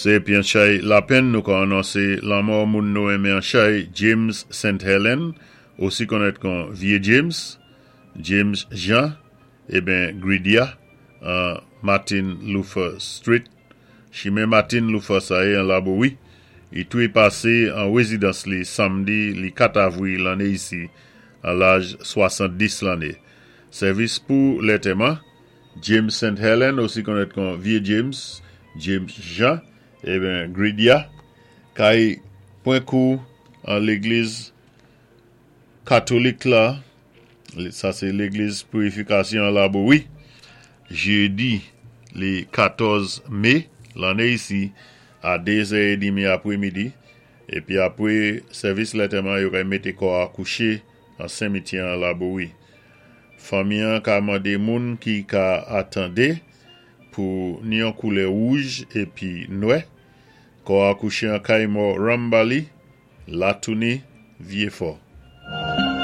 Sé épi an chay lapenn nou ka anonsé lanmò moun nou enmen an chay James St. Helen, osi konnèt kon Vyé James, James Jean, eben Gridia, an Martin Luther Street, chimen Martin Luther sa-yé an Labowi. I toui pasé an wézidans li samdi li 4 avwi lanné isi, an laj 70 lanné. Sèvis pou lantèman, James St. Helen, osi konnèt kon Vyé James, James Jean, eben Gridia, kay pwan kou an légliz katolik la, sa sé légliz Pirifikasyon an Labowi, jédi li 14 mé lanné isi a 2 zè édmi apwémidi, épi apwé sèvis lantèman yo kay mété kò a kouché an simityè an Labowi. Fanmi an ka mandé moun ki ka atandé pou ni an koulè wouj épi nwè. Kò a kouché an kay mò Rambali, Latouni, Vyéfò.